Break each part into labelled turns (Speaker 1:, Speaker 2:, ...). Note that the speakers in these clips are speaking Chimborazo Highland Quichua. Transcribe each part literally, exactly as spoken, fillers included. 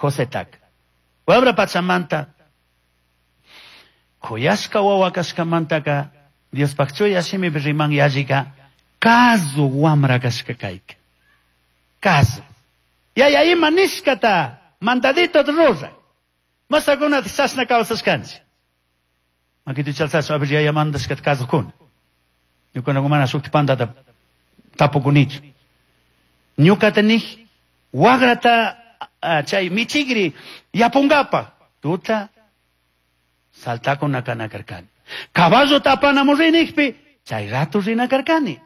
Speaker 1: Josetaka. Wamra pachamanta kuyashka wawa kashkamantaka Diospaj chuya shimipi riman yallika kazu wamra kashka kayka. Kazu. Yaya ima nishkata mandadito rura. Masakunata chashna kawsashkanchik. Makita chalsasha a ver yaya mandashkata kazukuna. Ñuka mana shukti pandata tapukunichu. Ñukata nij wagrata chay michigri yapungapa tuta saltakuna kana karkani. Caballota apanamun rinijpi chay rato rina karkani.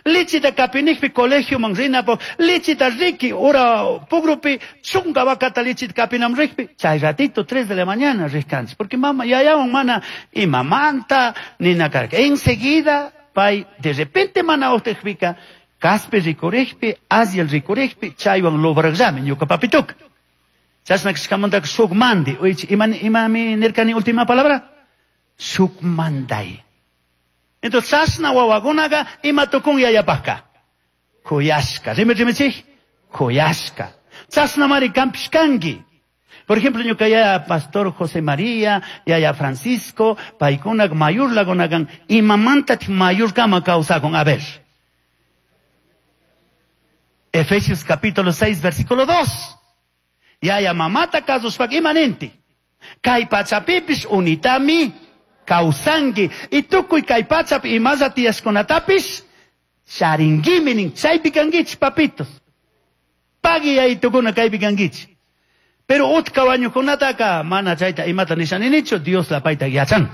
Speaker 1: Lichita kapinijpi colegio man rinapo lichita riki ura pugrupi chunga vacata lichita kapinam rikpi chay ratito tres de la mañana rikkanchik porque mama yayawan mana imamanta nina karka. Enseguida pay de repente mana uhtijpika kaspi rikurikpi aziel rikurikpi chaywan lobraqllami ñuka papituka. Chashna kashkamantaka shuk mandi. Ima imami nirkani última palabra? Shuk manday. Entonces chashna wawakunaqa ima tukun yayapajka. Kuyashka. Rimi rimichik? Kuyashka. Chashnamari kanpish kanki. Por ejemplo, ñuka yaya Pastor José María, yaya Francisco, paykunak mayurlakunakan imamantatik mayurkama kawsakun. A ver. Efesios capítulo seis, versículo dos. Yaya mamata kasushpak imaninti. Kay pachapipish unitami kawsanki. Y tukuy kay pachapi imalla tiyashkunatapish charinguimi nin. Chaypi kankichik papitos. Pagui yayitukuna kaypi kankichik. Pero utka wañukunataka mana chayta imata nishaninichu, Dios la payta yachan.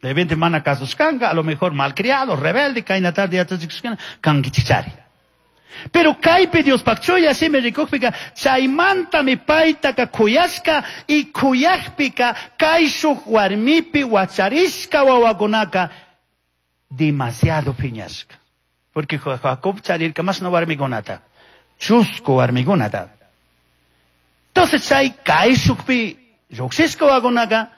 Speaker 1: De repente mana kasushkanka, a lo mejor malcriado, rebelde, kayna tarde yachachikushkana, kankichik. Pero kaypi Diospaj chuya shimi rikukpika chaymantami paytaka kuyashka y kuyakpika kayshuk warmipi wacharishka wawakunaka demasiado piñashka. Porque Jacob charirka mashna warmikunata, chusku warmikunata. Entonces chay kayshukpi lluqshishka wawakunaka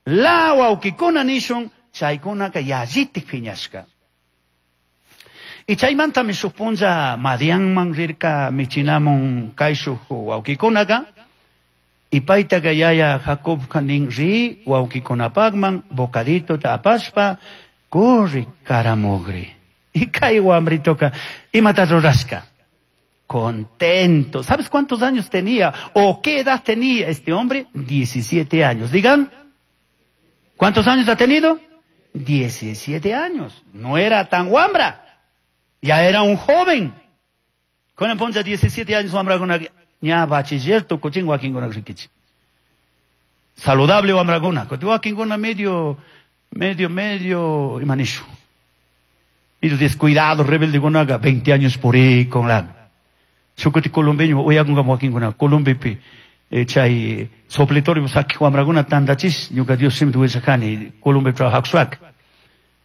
Speaker 1: la wawkikuna nishun chaykunaka yallitik piñashka. Y chaymantami shuk punlla Madianman rirka michinamun kayshuk wawkikunaka y paytaka yaya Jacobka nin ri wawkikunapaqman bocaditota apashpa kurri karamugri. Y kay wamritoka imata rurashka. Contento. ¿Sabes cuántos años tenía o qué edad tenía este hombre? diecisiete años. Digan, ¿cuántos años ha tenido? diecisiete años. No era tan wambra. Ya era un joven. Con poncha diecisiete años wambraguna ña bachiller tukuchin wakinkuna rikichi. Saludable wambraguna. Kuti wakinkuna medio medio medio imanishu. Medio descuidado, rebelde kunaga veinte años por ahí con la. Shukuti colombeño uyakunga wakinkuna Colombipi chay sopletorio saki wambraguna tandachis ñuka Dios simtu willakani Colombia trabajak.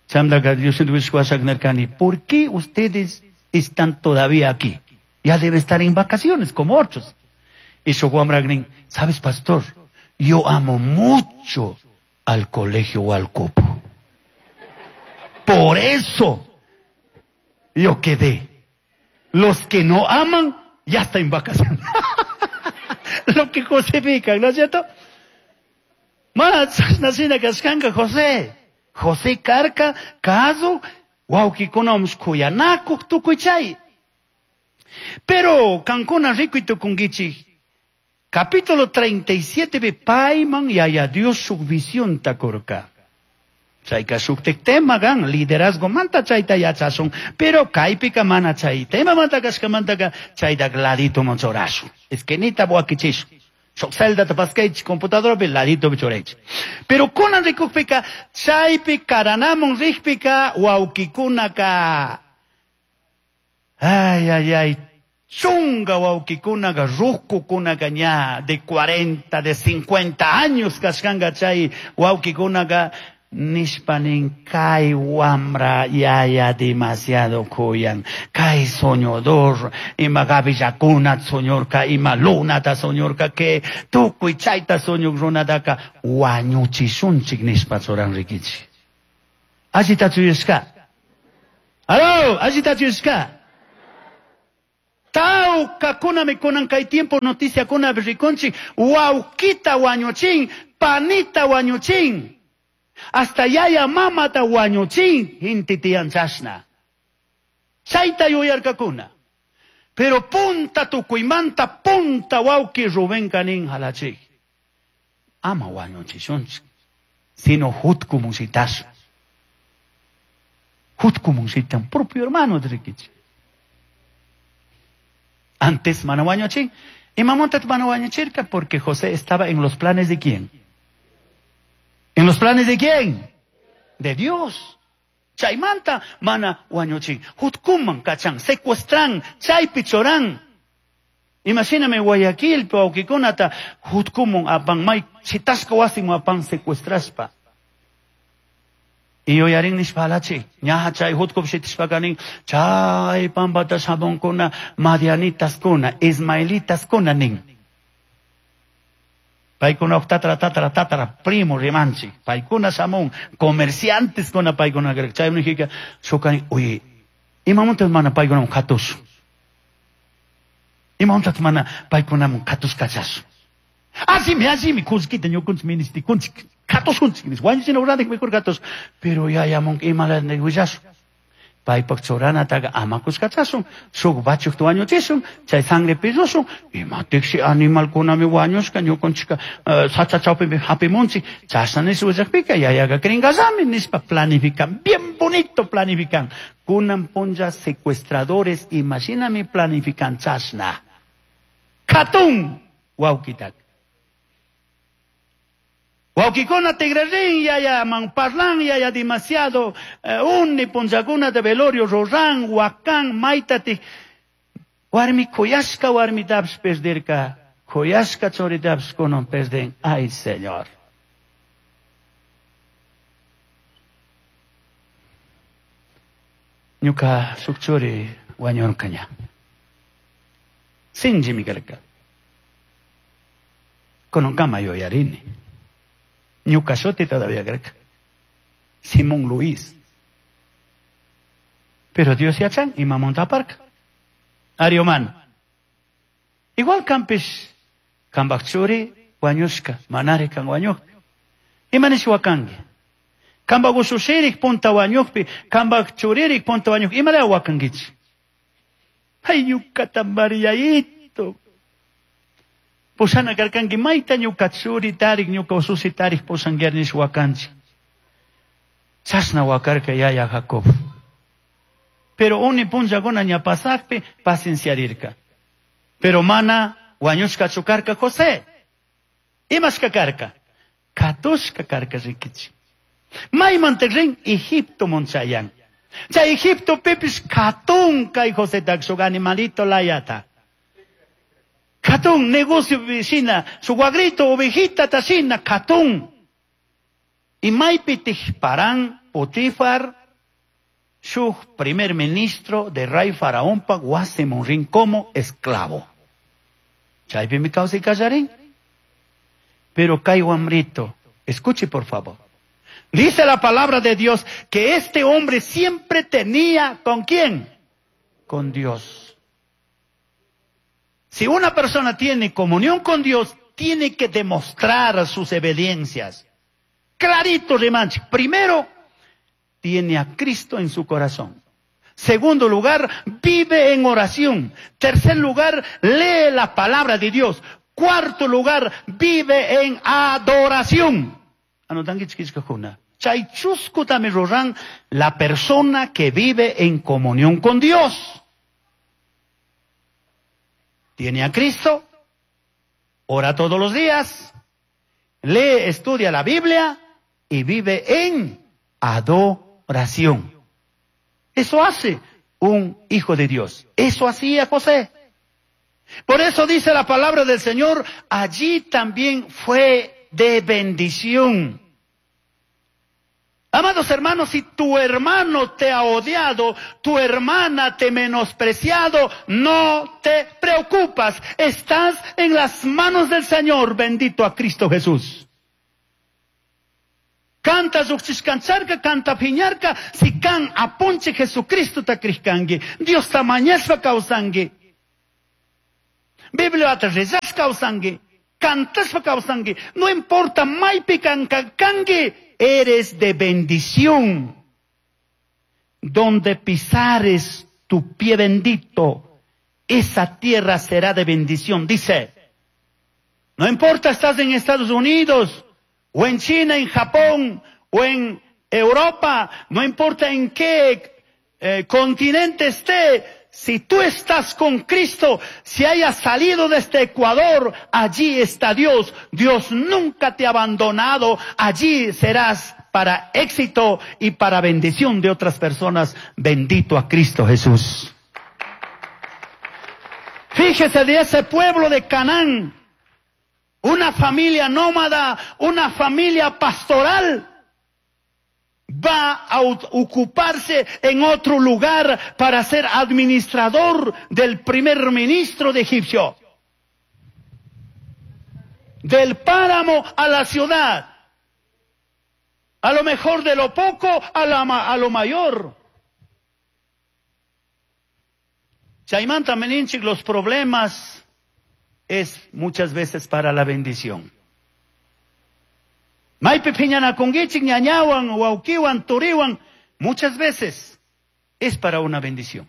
Speaker 1: Chamdaga Dios nerkani, ¿por qué ustedes están todavía aquí? Ya debe estar en vacaciones, como otros. Y su wambragnin, ¿sabes, pastor? Yo amo mucho al colegio Hualcopo. Por eso yo quedé. Los que no aman, ya están en vacaciones. Lo que José pica, ¿no es cierto? Más, nacina kashkanka José. José karka, kazu, wawkikuna kuyanakuk tukuy chay. Pero kankuna rikuy tukunkichik. Capítulo treinta y siete be payman yaya Dios shuk visionta kurka. Chayka shuktik tema gan liderazgo manta chayta yachasun, pero kaypika mana chay tema manta kashkamantaka chayta ladito manchorashun. Esquinita buakichish. Shuk celdata paskaychik computadorapi ladito churaychik. Pero kunan rikukpika chaypi karanamun rikpika wawkikunaka ay ay ay chunga wawkikunaka rukukunaka ña de cuarenta de cincuenta años kashkanka chay wawkikunaka nishpanin kay wamra yaya demasiado kuyan kay soñador ima gabillakuna soñorka ima lunata soñorka que tukuy chayta soñuk runataka wañuchishunchik nishpa churan rikichik. Allitachu yuyashka? Aló, allitachu yuyashka? Tawkakunami kunan kay tiempo noticiakunapi rikunchik, wawkita wañuchin, panita wañuchin, hasta yaya mamata wañuchin, inti tiyan chashna. Chayta yuyarkakuna. Pero punta tukuymanta punta wawki Rubén kanin halachik. Ama wañuchishunchik, sino hutkumunshitash. Hutkumushitan, propio hermano rikichik. Antes mana wañuchin. Imamonta mana wañuchirka? Porque José estaba en los planes de ¿quién? ¿En los planes de quién? De Dios. Chaymanta mana wañuchin. Hutkuman kachan, secuestran, chaypi choran. Imagíname Guayaquil, wawqikunata hutkumun apan may chitasqa wasin apan secuestraspa. Y yuyarin nishpa halachi, ñaja chay hutkup shitishpaka nin, chay pampata shamunkuna, madianitaskuna, ismaelitaskuna nin. Paykuna tatara tatara tatara primo rimanchik, paykuna shamun, comerciantes kuna paykuna chay nijika, shukani, oye, imamunta mana paykunamun katush. Imamunta mana paykunamun katush kachash. Asimi, asimi, kullkita ñukunchik ministikunchik. Katushunchik, wañuchina uradik mejor katush. Pero yayamun imala willasun. Paypak churanataqa ama kushkachashun, shuk bachukta wañuchishun, chay sangre pillushun, imatiksi animalkunami wañushka, ñukunchika sacha chawpimi hapimunchik, chashna nish willakpika yayaqa krinkallami nishpa planifican, bien bonito planifican. Kunan punlla secuestradores, imashinami planifican chashna. Katun wawkitak. Wawkikuna tigrarin yaya man parlan yaya demasiado eh, unni punllakuna de velorio ruran wakan maytati warmi kuyashka warmitapish perderka kuyashka churitapish kunan perden. Ay Señor. Ñuka shuk churi wañurkaña. Sinchimi karka. Kunankama yuyarini. Ñuka shuti todavía karka. Simón Luis. Pero Dios yachan imamunta aparka. Arioman. Igual kampish kambak churi wañushka, manari kan wañukpi. Imanish wakanki. Kambak ushushirik punta wañukpi, kambak churirik punta wañukpi, imalaya wakankichik. Ay ñukata Mariaito. Pushana karkanki mayta ñuka churi tarik, ñuka ususi tarik pushankiar nish wakanchik. Chashna wakarka yaya Jacob. Pero uni punllakuna ña pasakpi pacienciarirka. Pero mana wañushkachu karka José. Imashka karka? Katushka karka rikichik. Maymanta rin Egipto monchayan. Chay Egipto pipis katun kay José shuk animalito layata. Katun negocio shina, su guagrito ovejita tashina, katun. Y maypi tijparan Potifar, shuk primer ministro de rey faraón pa wasimun rin como esclavo. Chaypi mi kawsay kallarin. Pero kay wamrito, escuche por favor. Dice la palabra de Dios que este hombre siempre tenía ¿con quién? Con Dios. Si una persona tiene comunión con Dios, tiene que demostrar sus evidencias. Clarito, rimanchik. Primero, tiene a Cristo en su corazón. Segundo lugar, vive en oración. Tercer lugar, lee la palabra de Dios. Cuarto lugar, vive en adoración. Chay chusku tami ruran, la persona que vive en comunión con Dios. Tiene a Cristo, ora todos los días, lee, estudia la Biblia y vive en adoración. Eso hace un hijo de Dios. Eso hacía José. Por eso dice la palabra del Señor, allí también fue de bendición. Amados hermanos, si tu hermano te ha odiado, tu hermana te menospreciado, no te preocupas. Estás en las manos del Señor, bendito a Cristo Jesús. Canta lluqchishkancharka, canta piñarka, si kan apunche Jesucristo ta krishkanki, Dios ta mañashpa kawsanki. Bibliata rezashpa kawsanki, cantashpa kawsanki, no importa maypi kanki, eres de bendición. Donde pisares tu pie bendito, esa tierra será de bendición, dice. No importa, estás en Estados Unidos, o en China, en Japón, o en Europa, no importa en qué eh, continente esté, si tú estás con Cristo, si hayas salido de este Ecuador, allí está Dios. Dios nunca te ha abandonado, allí serás para éxito y para bendición de otras personas. Bendito a Cristo Jesús. Fíjese de ese pueblo de Canaán, una familia nómada, una familia pastoral, va a ocuparse en otro lugar para ser administrador del primer ministro de Egipcio. Del páramo a la ciudad. A lo mejor de lo poco a, la, a lo mayor. Chaimanta meninchik, los problemas es muchas veces para la bendición. Maypi phiñanakunkichik, ñañawan, wawqiwan, turiwan, muchas veces es para una bendición.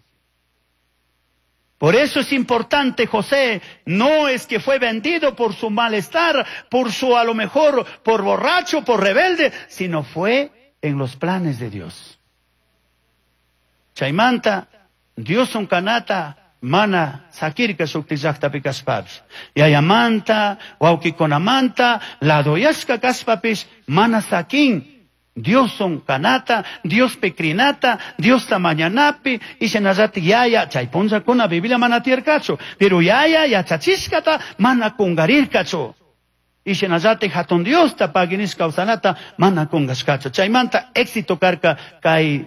Speaker 1: Por eso es importante, José, no es que fue vendido por su malestar, por su, a lo mejor, por borracho, por rebelde, sino fue en los planes de Dios. Chaimanta, Dios un kanata, mana sakirka shukti llaqtapi kashpapish. Yayamanta, wawqikunamanta, ladoyashka kashpapish, mana sakin. Diosun kanata, Diospi krinata, Diosta mañanapi, ishinallati yaya, chay punllakuna Biblia mana tiyarkachu, pero yaya yachachishkata mana kungarirkachu. Ishinallati hatun Diosta paginish kawsanata mana kungashkachu. Chaymanta éxito karka kay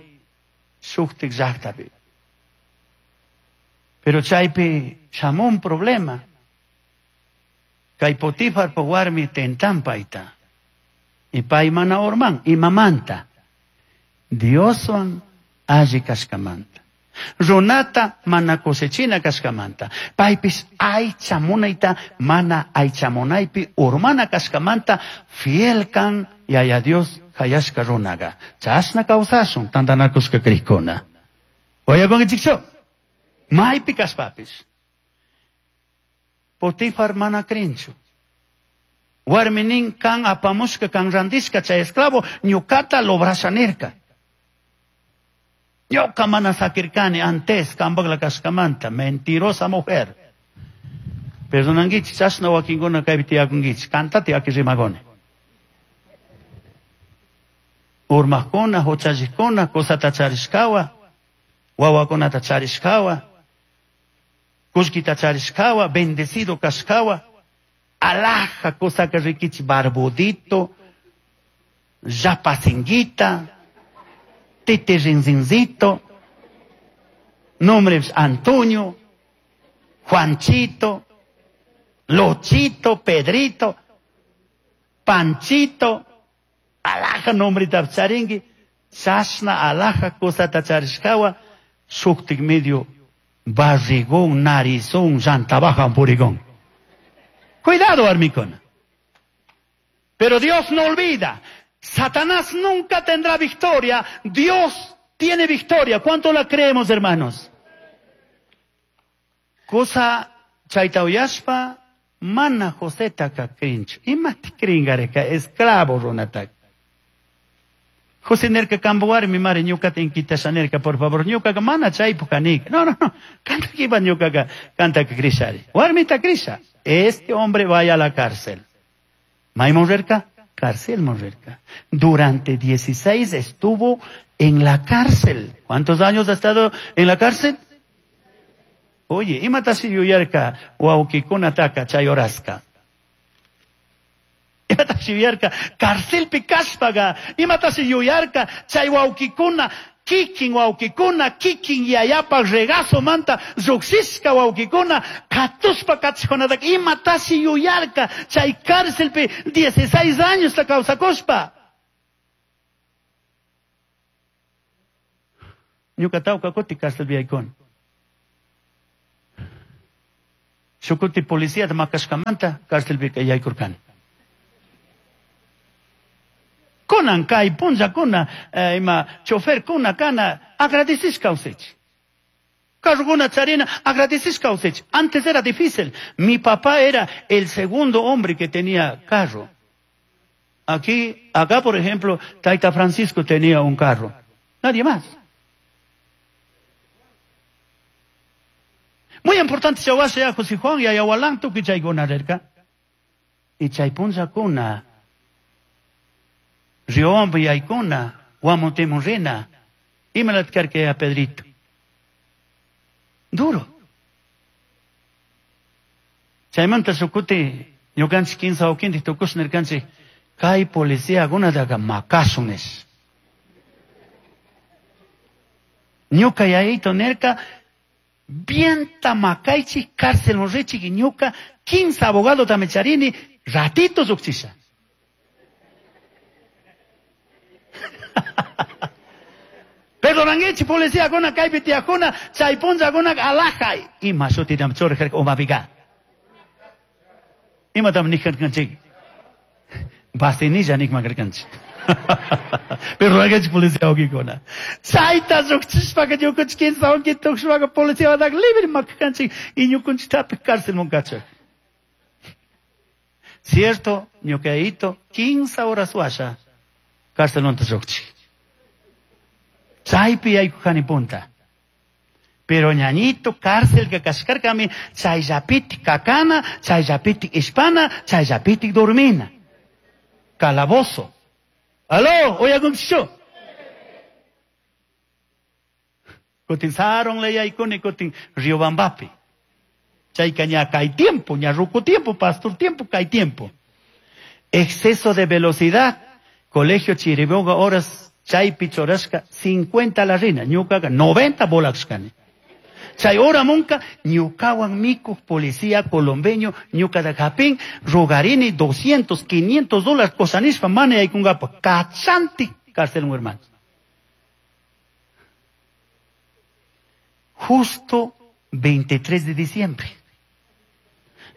Speaker 1: shuktik llaqtapi. Pero chaypi shamun un problema. Kay Potifar po warmi tentan payta. Y pay mana urman, imamanta. Dioswan alli kashkamanta. Runata mana cosechina kashkamanta. Paypis aycha munayta mana aycha munaypi urmana kashkamanta fiel kan yaya Dios hayashka runaga. Chashna kawsashun tantanakushka krikuna. Oyakunkichikchu? Maypi kashpapis. Potifar mana krinchu. Warminin kan apamushka kan randishka chay esclavo ñukata lobrasha nirka. Ñuka mana sakirkani antes kambagla kashkamanta, mentirosa mujer. Perdonankichik, chashna wakinkuna kaypi tiyakunkichik, kantati aki rimagoni. Urmaqkuna, huchalliqkuna, kusata charishkawa, wawakunata charishkawa, kullkita charishkawa, bendecido kashkawa, alhaja kusaka rikichi barbudito, yapasinguita, titirinzincito, nombres Antonio, Juanchito, Lochito, Pedrito, Panchito, alhaja nombre charingi, chashna alhaja kusata charishkawa, shuktik medio barrigón, narizón, llantabajan purigón. Cuidado, armicona. Pero Dios no olvida. Satanás nunca tendrá victoria. Dios tiene victoria. ¿Cuánto la creemos, hermanos? Cosa chayta uyashpa, mana Joseta krinchu. Imati kringareka, esclavo runataka. José nerka kambo warmi mari ñukata inquitasha nerka, por favor, ñukaka mana chaypu kanika. No, no, no. Kanta kipa ñukaka, kanta krishari. Warmita krisha. Este hombre vaya a la cárcel. Maymun rirka, cárcel rirka. Durante dieciséis estuvo en la cárcel. ¿Cuántos años ha estado en la cárcel? Oye, imatashi yuyarka wawqikunataka chay horaska. Imatashi yuyarka carcelpi kashpaga. Imatashi yuyarka chay wawqikuna kikin wawqikuna kikin yayapa regazo manta lluqshishka wawqikuna katuspa kachijunataka imatashi yuyarka chay carcelpi dieciséis años ta kawsakushpa. Ñuka tawka kuti carcelpi yaykuni. Shukuti policía makashkamanta cárcelpika yaykurkani. Kunan kay punllakuna eh, ima choferkuna kana agradecish kawsaychik. Carrokuna charina agradecish kawsaychik. Antes era difícil. Mi papá era el segundo hombre que tenía carro. Aquí, acá por ejemplo, Taita Francisco tenía un carro. Nadie más. Muy importante, chawasha José Juan y ayawalan tukuy chaykuna rirka. Y chay punllakuna Riobamba yaykuna, Guamotemun rina, imalat karka a Pedrito. Duro. Chaymanta shukuti ñukanchik kinsa wawqintik tukush nirkanchik kay policiakunataqa makasun nish. Ñuka yayito nirka bienta makaychik cárcel richik y ñuka quince abogado charini ratito lluqchisha. Perdonanguichi policía kuna kaypi tiyakuna chay punllakuna alajay ima shutitam churajarka umapiqa. Imatam nijarkanchik? Vasenilla nikman karkanchik. Perdonanguichi policía wawqikuna. Chayta lluqchishpaka ñukanchik kinsa wawqi tukushpaka policiawataka libre makarkanchik y ñukanchiktapish cárcelman kachak. Cierto, ñuqayito quince horas washa cárcelmanta lluqchik. Chaypi yaykujani punta. Pero ñañito cárcel que kashkarkami chayllapitik kakana, chayllapitik ishpana, chayllapitik dormina. Calabozo. Aló, uyakunkichu. Kutin saronle yaykuni kutin Riobambapi. Chayka ña kay tiempo, ña ruku tiempo, pastor tiempo, kay tiempo. Exceso de velocidad. Colegio Chiriboga horas chaypi churashka cincuenta la rina, ñukaqa noventa volashkani. Chay hora munka ñukawan mikuq policía colombeño ñukata hapin rogarini doscientos, quinientos dólares kosanishpa mana yaykunkapaq kachanti cárcel hermano. Justo veintitrés de diciembre.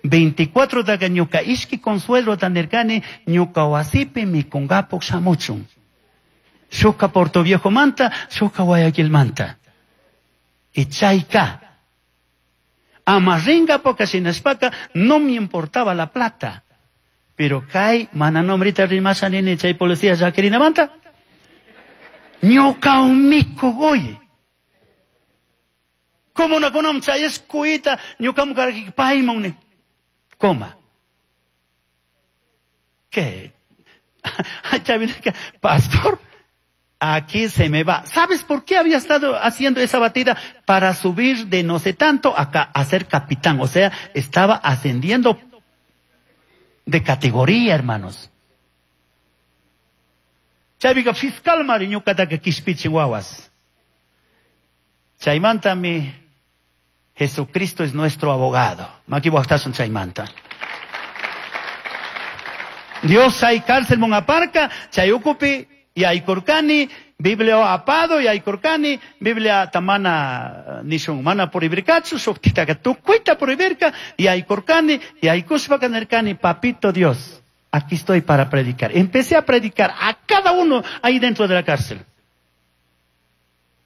Speaker 1: veinticuatro daga ñuka ishki consuelo tanirkani ñuka wasipi mikunkapuq shamuchun. Shukka Puerto Viejo manta, shukka Guayaquil manta. Y chayka. Amarringa poca shinashpaka no me importaba la plata. Pero kay mana nombrita rimasha nini chay policía llakirina manta. Ñuka umiku oye. Como na kunam chay escuita ñuka mukaraki paimon. Coma. ¿Qué? Pastor, aquí se me va. ¿Sabes por qué había estado haciendo esa batida? Para subir de no sé tanto acá a ser capitán. O sea, estaba ascendiendo de categoría, hermanos. Chaypiqa fiscal mari ñuqataqa kishpichin wawas. Chaymantami Jesucristo es nuestro abogado. Maki waqtasun chaymanta. Dios hay cárcel mongaparca, chay ukupi yaykurkani, Biblia apado yaykurkani, Biblia tamana nishun mana prohibirkachu, shuktitaka tukuyta prohibirka, yaykurkani, yaykushpaka nirkani, papito Dios, aquí estoy para predicar. Empecé a predicar a cada uno ahí dentro de la cárcel.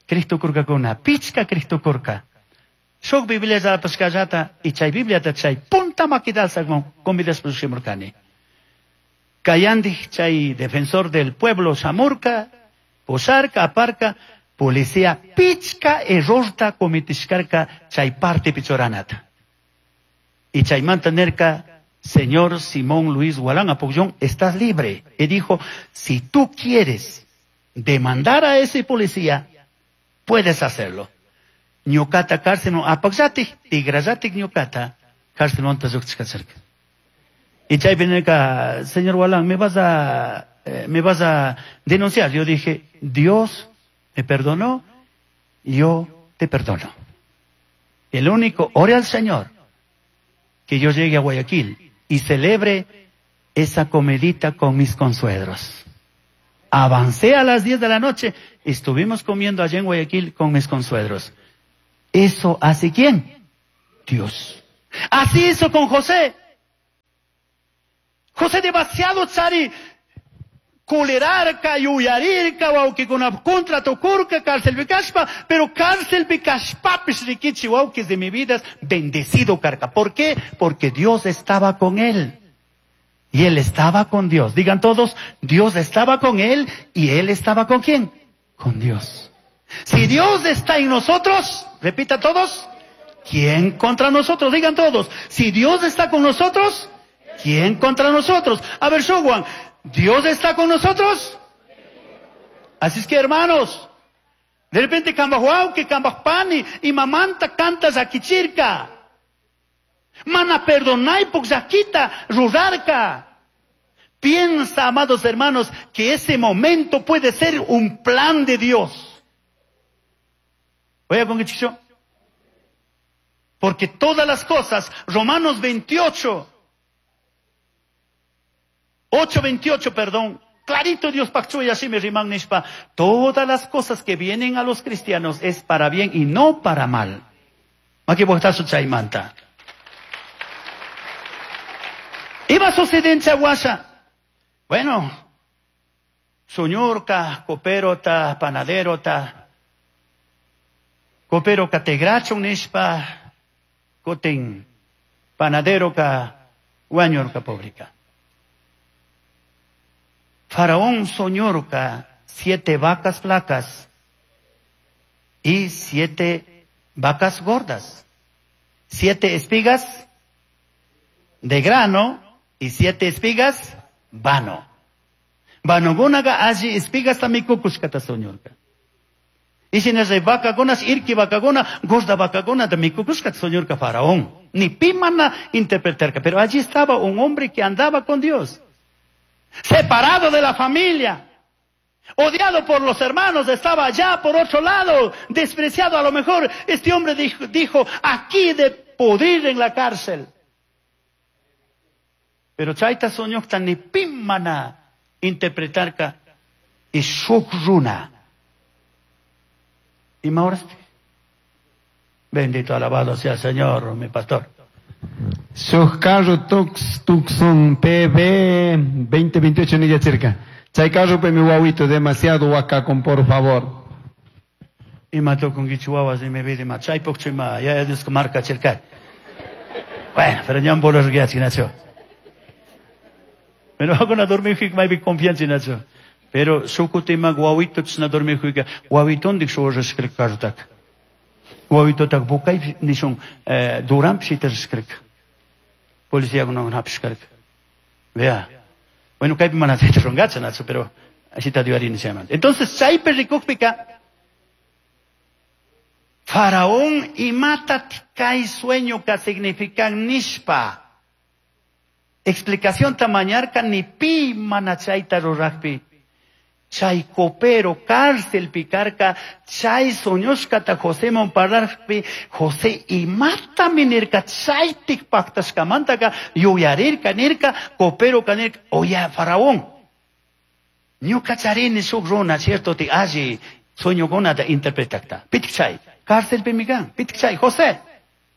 Speaker 1: Cristo kurkakuna, pichka Cristo kurka. Shuk Biblia zapashkallata y chay Biblia ta chay punta makidalsa convidas pushimurkani. Kayandi chay defensor del pueblo Samurka, Pusarka, Aparka, policía pichka errorta cometishkarka chay parte pichoranata. Y chay mantenerka, señor Simón Luis Gualán Apoyón, estás libre. Y dijo, si tú quieres demandar a ese policía, puedes hacerlo. Ñuqata cárcel apaqllatik, tigrallatik ñuqata cárcel monta lluqchishkacharka. Y chaypi nirka, señor Gualán, me vas a, eh, me vas a denunciar. Yo dije, Dios me perdonó, yo te perdono. El único, ore al Señor, que yo llegue a Guayaquil y celebre esa comidita con mis consuegros. Avancé a las diez de la noche, estuvimos comiendo allá en Guayaquil con mis consuegros. ¿Eso hace quién? Dios. Así hizo con José. José demasiado chari culerarca, yuyarirca, wawkikuna contra tukurka, cárcel kashpa, pero cárcel kashpapis rikichi wawkis de mi vida, bendecido karka. ¿Por qué? Porque Dios estaba con él. Y él estaba con Dios. Digan todos, Dios estaba con él y él estaba con quién? Con Dios. Si Dios está en nosotros, repita todos, ¿quién contra nosotros? Digan todos, si Dios está con nosotros, ¿quién contra nosotros? A ver, Shuwan, ¿Dios está con nosotros? Así es que, hermanos, de repente que pani y mamanta canta zakichirka. Mana perdonai zakita rurarka. Piensa, amados hermanos, que ese momento puede ser un plan de Dios. Oiga, con qué chicho. Porque todas las cosas, Romanos veintiocho, ocho veintiocho, perdón, clarito Dios pactó y así me riman nishpa. Todas las cosas que vienen a los cristianos es para bien y no para mal. Aquí su chaimanta. Iba a suceder en Chaguasa. Bueno, soñorca, copero ta, panadero ta, copero ka tegracho nishpa, kotin, panadero ka, guañorca pobrica. Faraón soñorca siete vacas flacas y siete vacas gordas, siete espigas de grano y siete espigas vano. Vanogunaga allí espigas tamikukushkata soñorca. Y si no vaca gonas, irki vaca gona, gorda vaca gona de mikukushkata soñorca Faraón. Ni pimana interpretarca, pero allí estaba un hombre que andaba con Dios. Separado de la familia, odiado por los hermanos, estaba allá por otro lado, despreciado. A lo mejor este hombre dijo, dijo aquí de podrir en la cárcel. Pero chaita soñokta ni pimana interpretarka y shukruna. Y mauraste. Bendito, alabado sea el Señor, mi pastor.
Speaker 2: Shuj carro tux tucson P B veinte veintiocho ni cerca. Chay carro pe mi guauito demasiado huacacón, por favor.
Speaker 1: Y mató con guichuawas y me vi de machay pokchima, ya es marca cerca. Bueno, pero ya un bolo Nacho. Pero hago na dormir que mai confianza Nacho. Pero sukutima guauito na dormir que guauiton dik so reskrik kartak. Guauito tak bukay nishon duram pshiter skrik. Policía no hapshkark. Vea. Bueno, kaypi mana rongacha Nacho, pero así está dio se llama. Entonces, chaypi rikukpika Faraón imata kay sueño ka significan nishpa. Explicación tamañarka ni pi mana chayta ruraqpi. Chay copero, cárcel picarca, chay soñoshkata José monparlarpi, José imata minirka, chaytik pactashkamantaka, yuyarirka nirka, copero kanirka, oya faraón. Ñuka charini shuk runa, cierto ti alli, sueñokunata interpretakta. Pitik chay, cárcel pimikan, pitik chay, José,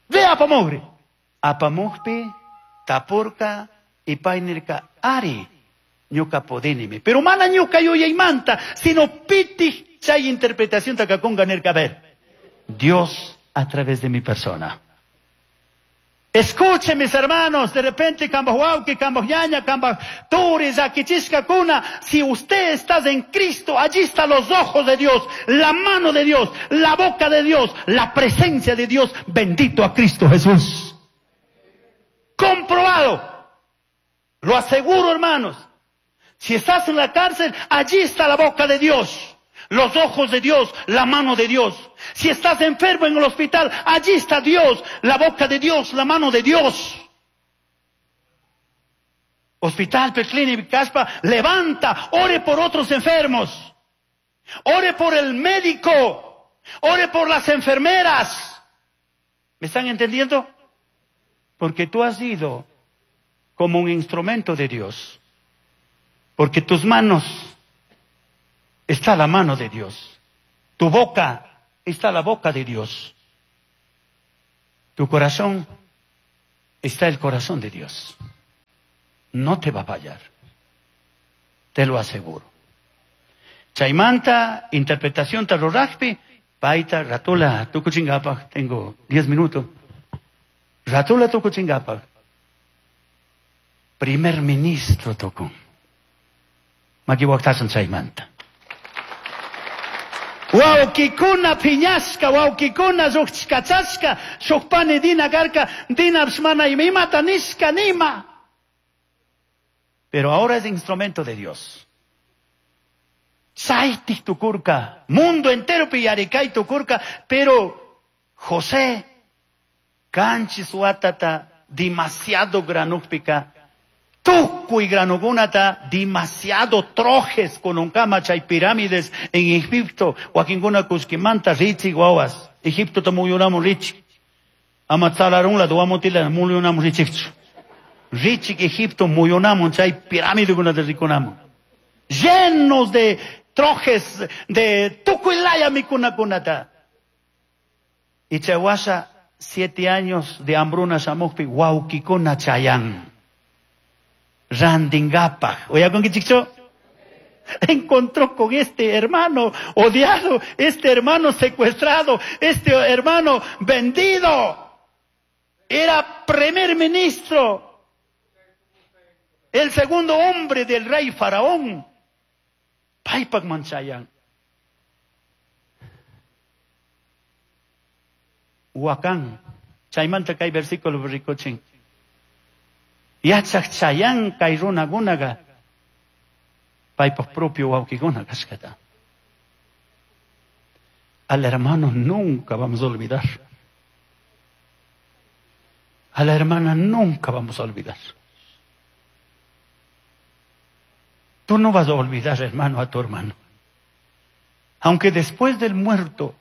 Speaker 1: ve apamugri. Apamugpi, tapurka, y painirka, ari. Ñuka podinimi. Pero mana ñuka yuyaymanta, sino piti chay interpretación takakunga nirka. A ver, Dios a través de mi persona. Escuchen mis hermanos, de repente kambaj kambaj ñaña, kambaj turi, yakichisca kuna, si usted está en Cristo, allí están los ojos de Dios, la mano de Dios, la boca de Dios, la presencia de Dios, bendito a Cristo Jesús. Comprobado. Lo aseguro, hermanos. Si estás en la cárcel, allí está la boca de Dios, los ojos de Dios, la mano de Dios. Si estás enfermo en el hospital, allí está Dios, la boca de Dios, la mano de Dios. Hospital, Peclini, Caspa, levanta, ore por otros enfermos. Ore por el médico, ore por las enfermeras. ¿Me están entendiendo? Porque tú has ido como un instrumento de Dios. Porque tus manos está la mano de Dios. Tu boca está la boca de Dios. Tu corazón Está el corazón de Dios. No te va a fallar. Te lo aseguro. Chaymanta, interpretación tarorajpi, paita, ratula, tukuchingapaj, tengo diez minutos. Ratula tukuchingapaj. Primer ministro tocó. Makiwaktasan chaymanta. Wawkikuna piñashka, wawkikuna lluqchkachashka, shuk pani dina karka, dina mana imata nishka nima. Pero ahora es instrumento de Dios. Chaytik tukurka, mundo entero piyarikay tukurka, pero José, kanchis watata demasiado granukpika, tukuy granukunata demasiado trojes kununkama chay pirámides en Egipto, wakinkuna kuskimanta richik wawas, Egipto muyunamun richik, ama tsalarunla duamutila muyunamun richikchu. Richik Egipto muyunamun chay pirámidekunata rikunamun. Llenos de trojes de tukuy laya mikunakunata. Y chawasha siete años de hambruna shamukpi wawkikuna chayan. Randingapaj. Oye, ¿con qué chicho? Encontró con este hermano odiado, este hermano secuestrado, este hermano vendido. Era primer ministro. El segundo hombre del rey Faraón. Paypak manchayan. Huacán. Chaymanta kay versículo rikuchin. Yachaq chayan kay runakunaqa paypaq propio wawqikuna kashkata. Al hermano nunca vamos a olvidar. A la hermana nunca vamos a olvidar. Tú no vas a olvidar, hermano, a tu hermano. Aunque después del muerto,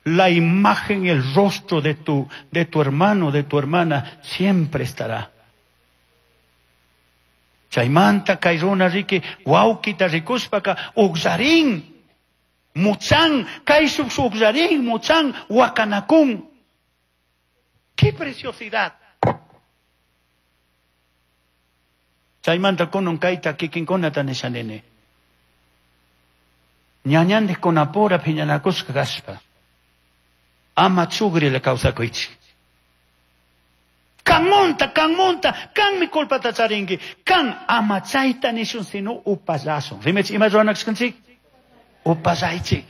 Speaker 1: la imagen y el rostro de tu, de tu hermano, de tu hermana, siempre estará. Chaymanta kay runa riki wawkita rikushpaka uqllarin, muchan, kayshuk uqllarin, muchan, wakanakun. ¡Qué preciosidad! Chaymanta kunan kayta kikinkunata nishanini. Ñañandik kunapura phiñanakushka kashpa. Ama chugrila kawsakuychik. Kanmunta, kanmunta, kanmi culpata charinki. Kan ama chayta nishun sino upallasun. Rimech ima ruwanakashkanchik? Upallaychik.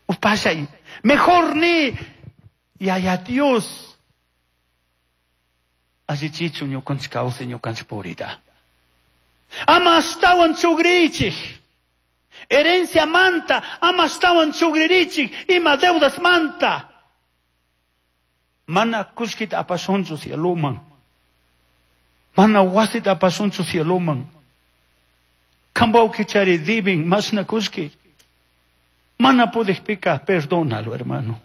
Speaker 1: Upallay. Mejor ni yaya Dios. Allichichu ñukanchik kawsay ñukanchik purita. Ama ashtawan chugrichik. Herencia manta, ama ashtawan chugririchik, ima deudas manta. Mana kushkita apasunchu cieluman. Mana wasita apasunchu cieluman. Kambawkichari dibin masna kushki. Mana pudikpika, perdónalo, hermano.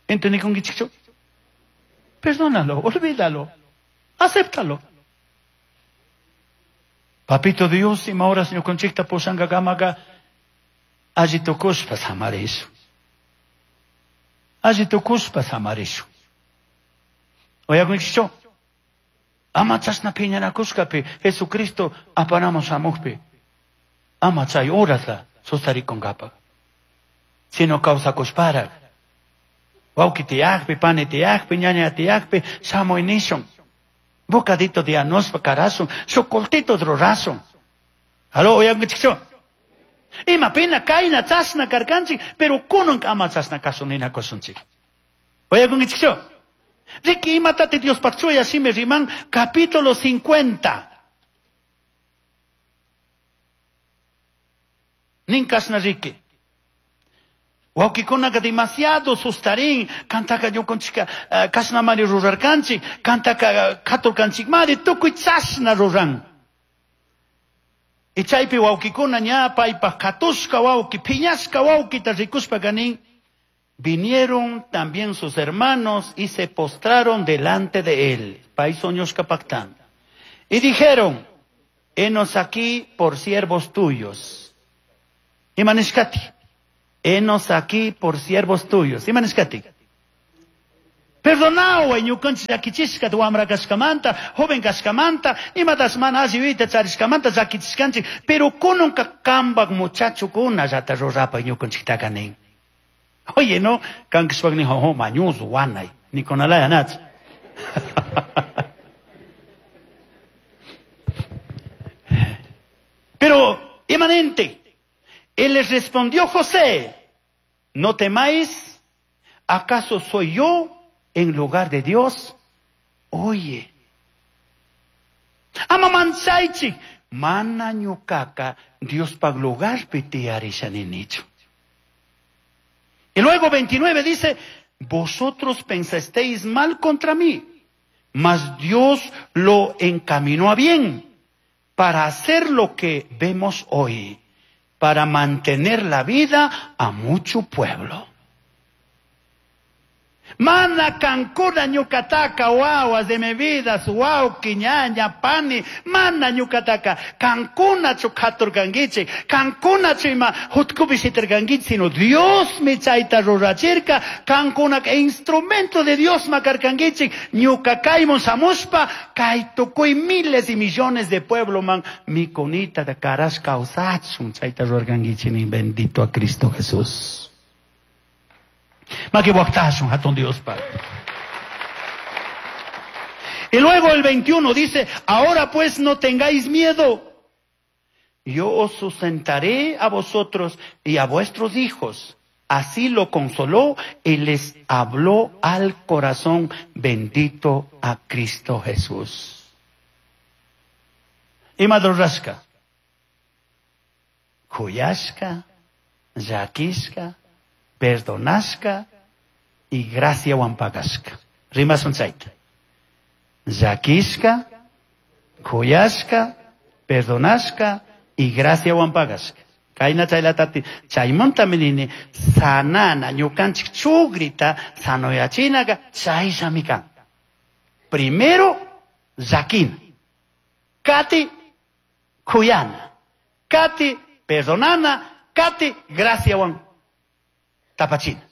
Speaker 1: ¿Entendí con qué? Perdónalo, olvídalo, acéptalo. Papito Dios, ima horas ñukanchikta pushankakamaqa alli tukushpa samarishun. Alli tukushpa samarishun. Uyakunkichu? Ama chashna phiñanakushkapi Jesucristo apanamun shamuqpi. Ama chay horasla sustarikunkapaq. Sino kawsakushparaq. Wawqi tiyaqpi, pani tiyaqpi, ñaña tiyaqpi, shamuy nishun. Bocadito de anospa karasun, shukultito rurasun. Aló, uyankichikchu? Ima pina kayna chashna karkanchik, pero kunan ama chashna kasun ninakusunchik. Uyakunkichikchu? Riki imatati Diospaq chuya shimi riman, capítulo cincuenta. Nin kashna riki. Wawqikunaka demasiado sustarin, kantaka ñukanchika kashnamari rurarkanchik, kantaka katurkanchikmari, tukuy chashna ruran. Y chaypi wawqikuna ña paypaq katushka wawqi, phiñashka wawqita rikushpaka nin, vinieron también sus hermanos y se postraron delante de él. Pay soñushka paqtan. Y dijeron, henos aquí por siervos tuyos. Imanishkati. Henos aquí por siervos tuyos. Imanishkati. Perdonaway ñukanchik llakichishka wamra kashkamanta, joven kashkamanta, imatas mana alli yuyayta charishkamanta llakichishkanchik, pero kunanka kambak muchachokuna llata rurapay ñukanchiktaka nin. Oye, no, kankishpak ni jojo mañuzo wanay, nikunalaya nach. Pero, inmanente, él les respondió José, no temáis, ¿acaso soy yo en lugar de Dios? Oye, ama manchaichi, mana ñukaka Dios pa lugar tiyarishani nichu. Y luego veintinueve dice, vosotros pensasteis mal contra mí, mas Dios lo encaminó a bien para hacer lo que vemos hoy, para mantener la vida a mucho pueblo. Mana kankuna ñukataka wawas de mi vida, wauki, ñaña, pani, mana ñukataka kankunachu katurkankichik, kankunachu ima hutkupi shitarkankichik, sino Dios mi chayta rurachirka, kankunaka instrumento de Dios makarkankichik, ñuka kaymun shamushpa, kay tukuy miles y millones de pueblo man, mikunita de karash kawsachun chayta rurarkankichik, nin bendito a Cristo Jesús. Maquihuactashun, hatun Dios Padre. Y luego el veintiuno dice, ahora pues no tengáis miedo. Yo os sustentaré a vosotros y a vuestros hijos. Así lo consoló y les habló al corazón. Bendito a Cristo Jesús. Y madrurashka, kuyashka, llakishka, perdonashka y gracia wampagashka. Rimasun chayta. Llakishka, kuyashka, perdonashka y gracia wampagashka. Kayna chaylatati chaymuntami nini sanana ñukanchik chugrita sanoyachinaka chayllami kan. Primero llakina, kati kuyana, kati perdonana, kati gracia wan tapachina.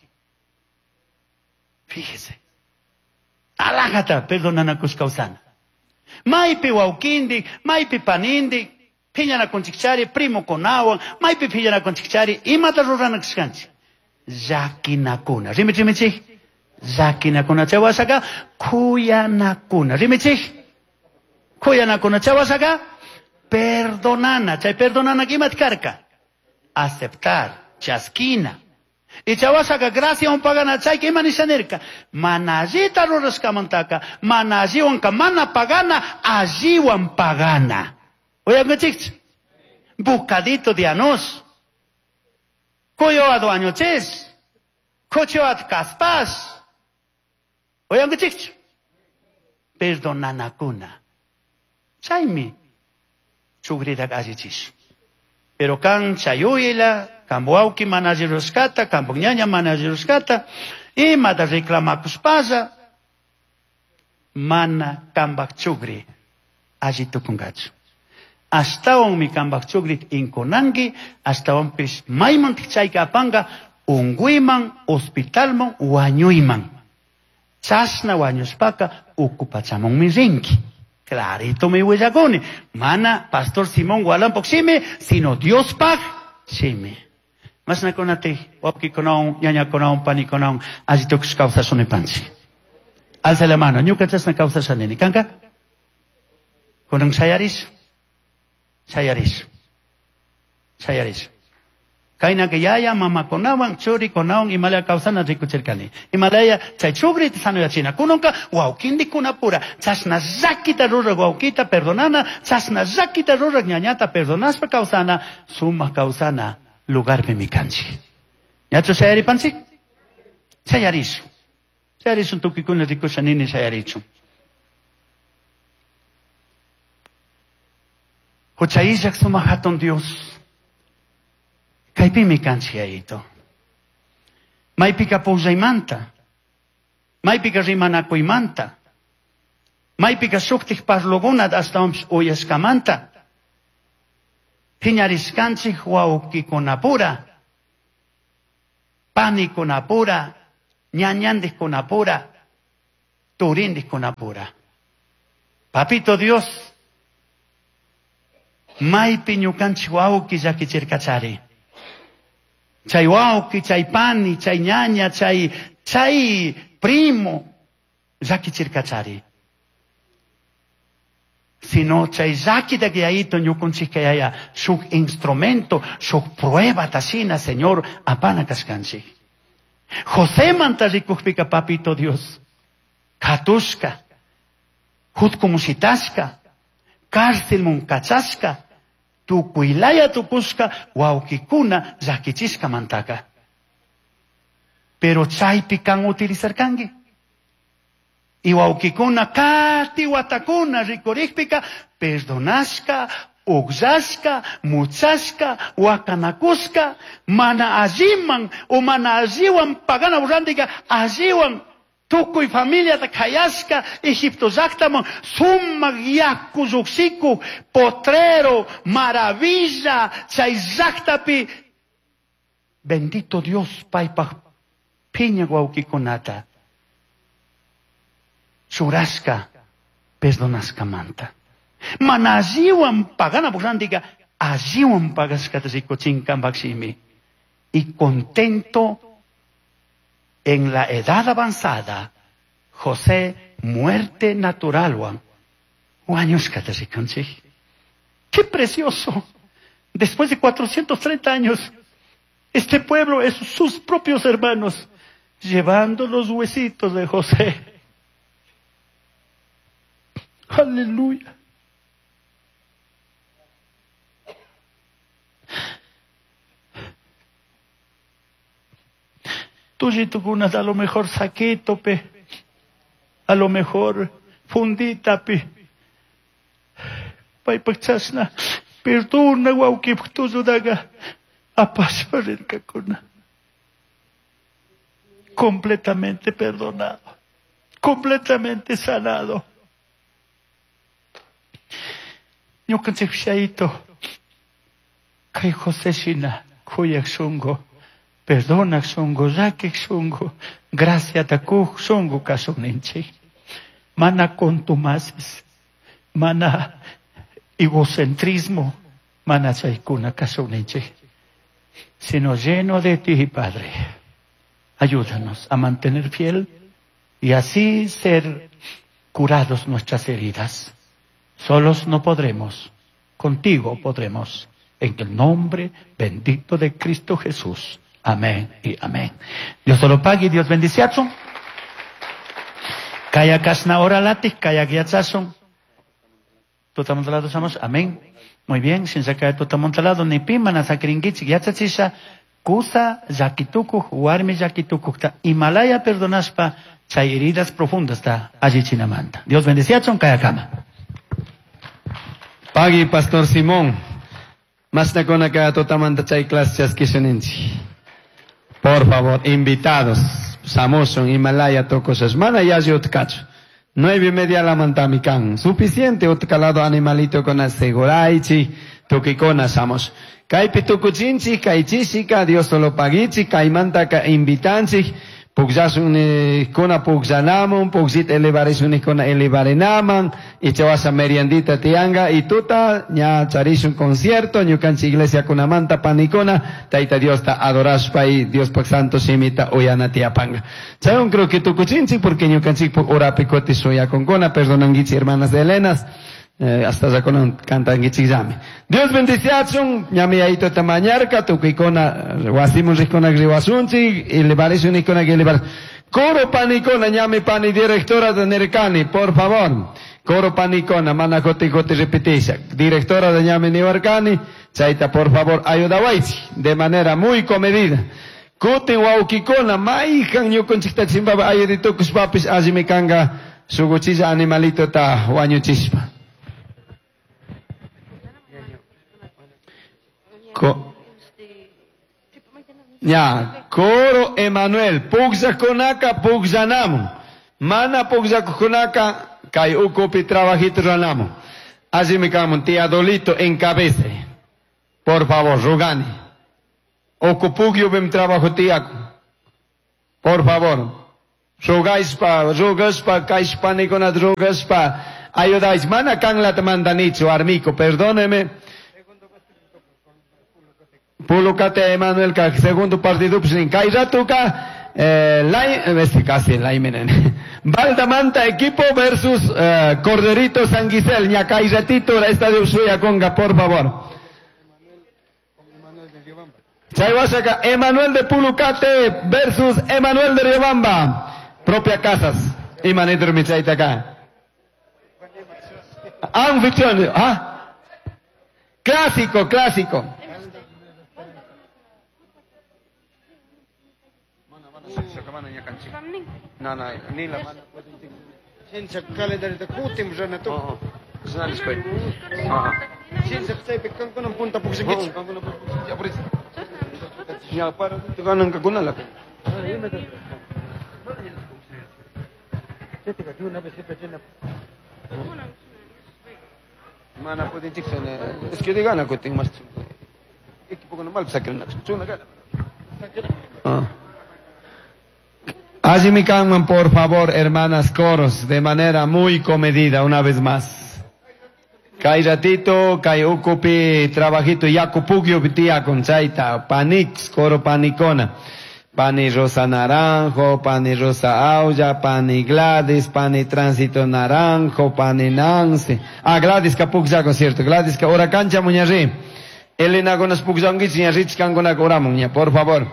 Speaker 1: Fíjese. Alájata, perdonana kushkausana. Maipi waukindi, maipi panindi, piñana kunchikchari, primo kunawan, maipi piñana kunchikchari, imata rurana kushkanchik. Llakinakuna. Rimichimichik. Llakinakuna chawasaka, kuyanakuna. Rimichik. Kuyanakuna chawasaka, perdonana. Chay perdonana kimat karka. Aceptar, chaskina. Y chawasaka gracia un pagana chay que imanishanerka. Manallita rurashkamantaka, manalliwanka mana pagana, alliwan pagana. Oigan, chicos, bocadito de anos. Coyoado añoches. Cochoat caspas. Oigan, chicos, perdonanakuna. Chaymi chugridak allichis. Pero kan chayuyla, kambuauki manajiruskata, kambuñaña manajiruskata, imata reclamakuspalla, mana kambak chugri allitukungachu. Ashtawan mi kambak chugri inkunanki, ashtawanpis mayman chayka apanga, unguiman, hospitalman, wañuyman. Chashna wañuspaka ukupachamunmi rinki. Clarito mi willakuni. Mana Pastor Simón Gualampok shimi, sino Dios paj shimi. Masnakunati, wawqikunawan, ñañakunawan, panikunawan, alli tukush kawsashunipanchik. Alza la mano, ñuka chashna kawsashanini. Kanka? Kunan shayarish. Shayarish. Shayarish. Kaynaka yaya mamakunawan, churikunawan, imalaya kawsana rikuchirkani. Imalaya chay chugrita sanoyachina. Kunanka wawkindikunapura, chashna llakita ruraq wawkita perdonana, chashna llakita ruraq ñañata perdonashpa kawsana, sumaq kawsana lugarpi mikanchik. Ñachu shayaripanchik? Shayarishun. Shayarishun tukuykuna rikushanini shayarichun. Huchayillaq sumaq hatun Dios. Kaypimi kanchik yayito. Maypika pukllaymanta, maypika rimanakuymanta, maypika shuktik parlukuna ashtawanpish uyashkamanta, phiñarishkanchik wawqikunapura, panikunapura, ñañandikunapura, Turindikunapura. Papito Dios, maypi ñukanchik wawqi llakichirkachari. Chay wawqi, chay pani, chay ñaña, chay, chay primo llakichirkachari. Sino chay llakita yayito ñukunchik yaya shuk instrumento, shuk prueba tashina, Señor, apana kashkanchik. José manta rikukpika, papito Dios, katushka, jutkumusitashka, cárcel munkachashka, tukuylaya tukushka, wawkikuna llakichishka mantaka. Pero chaypi kan utilizarkanki. Y wawkikuna kati watakuna rikurikpika, perdonashka, ukllashka, muchashka, wakanakushka, mana alliman o mana alliwan pagana urrantika, alliwan tukuy familiata kayashka, Egipto llaqtaman, sumaq yaku lluqsikuq, potrero, maravilla, chay llaqtapi. Bendito Dios paypaq phiña wawqikunata churashka, perdonashkamanta. Mana alliwan pagana rantika, alliwan pagashkata rikuchinkanpaq shimi. Y contento en la edad avanzada, José, muerte naturalwan, wañushkata rikunchik. ¡Qué precioso! Después de cuatrocientos treinta años, este pueblo es sus propios hermanos, llevando los huesitos de José. Aleluya. Tullitukunas a lo mejor saquito pe, a lo mejor fundita pe. Paypaq chashna perdona wawqipaq tulludaqa apashpa rirkakuna. Completamente perdonado, completamente sanado. Ñukanchik shayito kay José shina kuyaq shunqu, perdonaq shunqu, llakiq shunqu, graciata kuq shunqu kasuninchik. Mana contumaces, mana egocentrismo, mana chaykuna kasuninchik, sino lleno de ti, Padre. Ayúdanos a mantener fiel y así ser curados nuestras heridas. Solos no podremos, contigo podremos. En el nombre bendito de Cristo Jesús. Amén y amén. Dios te lo pague y Dios bendice. Kaya kasna ora latik, kaya guiachasun. Tutamontalado somos. Amén. Muy bien, sin sacar tutamontalado ni pimana sakringichik yachachisha. Kusa llakitukuq, warmi llakitukuqta Himalaya perdonaspa chay heridas profundas ta allichinamanta. Dios bendeciachun, kaya kama.
Speaker 2: Pagui, Pastor Simón. Masnakuna kaya tutamanta chay clase chaskishuninchik. Por favor, invitados. Samusun, Himalaya tocosas. Mana yalli utkachu. Nueve y media la mantamikan. Suficiente utkalado animalito con aseguraichi. Tukikona samos. Kaypi tukuchinchik, kaychishika, Dios solo pagichik, kaymantaka invitanchik. Pukllasunikuna pukllanamun, pukllita elevarisunikuna elevarinaman, ichawasha meriendita tianga, y tuta ña charishun concierto, ñukanchik iglesia kunamanta panikuna, Tayta Diosta adorashpa y Dios pak santo shimita uyana tiapanga. Chaywan creo que tukuchinchik porque ñukanchik puk urapi kuti shuyakunkuna, perdonanguichik hermanas de Helenas. Eh, hasta ya con cantanguichik llame. Dios bendiciachun, ñami ayito tamañarca, tukikona, wasimun rikona griwasunchik, elevarisunikona elevar. Coro panicona, ñami pani directora de Nercani, por favor. Coro panicona, mana joti joti repetisha. Directora de ñami Nibarcani, chaita, por favor, ayudawaichi, de manera muy comedida. Kutin waukikona, maijan ñukunchikta chimbaba ayuditukushpapis allimikanga, suguchilla animalito ta wañuchispa. Ko, ya, Coro Emanuel, pugllakunaka pugllanamun. Mana pugllakunaka kay ukupi trabajito ranamun. Allí me cago tía Dolito encabece. Por favor, rugani. Ocupugio bem trabajo tiaco. Por favor. Rogashpa, rogashpa, kashpanikuna rogashpa, ayudais. Mana kanlata mandanichu, armico, perdóneme. Pulucate Emanuel ka segundo partido pues kay ratuka eh, lai, este casi laimenen. Valdamanta equipo versus eh, Corderito San Gisel, ña kay ratito la estadio Suya Conga, por favor. Chay wasaka Emanuel de Pulucate versus Emanuel de Riobamba. Propia Casas. Imanito michayta acá. Anfitrión, ah. Clásico, clásico. No, no, ni la mano.
Speaker 3: Chincha calendario kutim rana tu.
Speaker 2: Oh, oh.
Speaker 3: Chincha chaypi kankuna punta puksinkichik.
Speaker 2: Ya para ganan kakuna la. Mana pudinchik es que digan kutin mas equipo con mal sacan chuna gana. Ah. Allí kanman, por favor, hermanas coros, de manera muy comedida, una vez más. Kay ratito, kay ukupi, trabajito, yakupugyo tía con chaita, panix, coro panicona. Pani Rosa Naranjo, Pani Rosa Aulla, Pani Gladys, Pani Tránsito Naranjo, Pani Nancy. Ah, Gladys kapukzako, cierto. Gladys ka, ora cancha muñarri. Elena gonas pukzanguich, ñarrich kangona oramuña, por favor.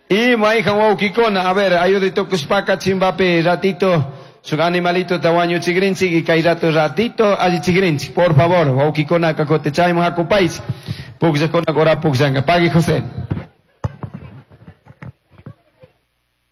Speaker 2: Y maijan waukikona, a ver, ayudito kuspaka chimbapi ratito, su animalito tawaño chigrinchik y kay rato ratito alli chigrinchik, por favor, waukikona kakote chaymo hakupais. Pukzakona ora pukzanga. Pagui José.